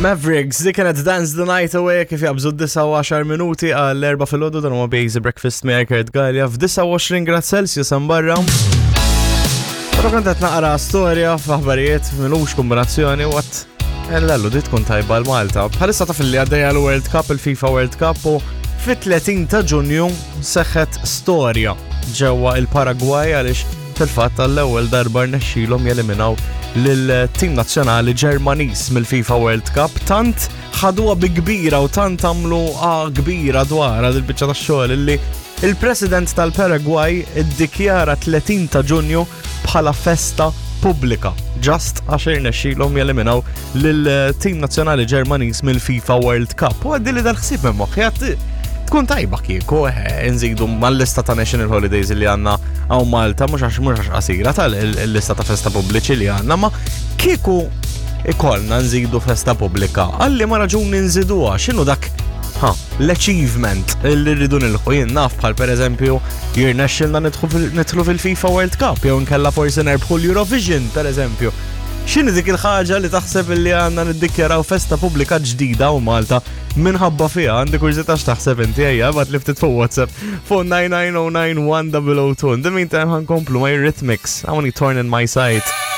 Mavericks, dik kienet Dance the Night Away kif jabżu 9 minuti għal 4 filgħodu dan huwa Basic Breakfast miegħi Kurt Gallia f'29 grad Celsius hemm barra. Però kont qed naqra storja f'aħbarijiet milux kombinazzjoni u għat Ellallu di tkun tajba l-Malta. Bħalissa taf li għaddejja l-World Cup, il-FIFA World Cup u fit-30 ta' Ġunju seħħet storja ġewwa il-Paragwaj għaliex fil-fatt għall-ewwel darba rnexxilhom jeliminaw lil-tim nazzjonali Ġermaniż mill-FIFA World Cup tant ħaduha bi kbira u tant għamlu kbira dwarha dil-biċċa tax-xogħol illi il-President tal-Paragwaj iddikjara 30 ta' Ġunju bħala festa pubblika just għax irnexxilhom jeliminaw lil-tim nazzjonali Ġermaniż mill-FIFA World Cup. U għaddi li dal-ħsieb minn moħħi tkun tajba kieku eh, nżidu mal-lista ta' National Holidays li għandna hawn Malta mhux għax mhux għax qasira tal-lista ta' festa pubbliċi li għandna, ma kieku ikollna nżidu festa pubblika. Għalli ma raġuni nżiduha, x'inhu dak ha, l-achievement li rridu nilħu jien naf bħal pereżempju jirnexxilna nidħlu fil-FIFA World Cup jew nkella forsi nerbħu l-Eurovision pereżempju. X'inhi dik il-ħaġa li taħseb li għandna niddikjaraw festa pubblika ġdida u Malta minħabba fiha għandi kurżità x'taħseb inti ejja bat li ftit fuq WhatsApp fuq 9909102. In the meantime ħankomplu ma' Rhythmics, I want torn in my sight.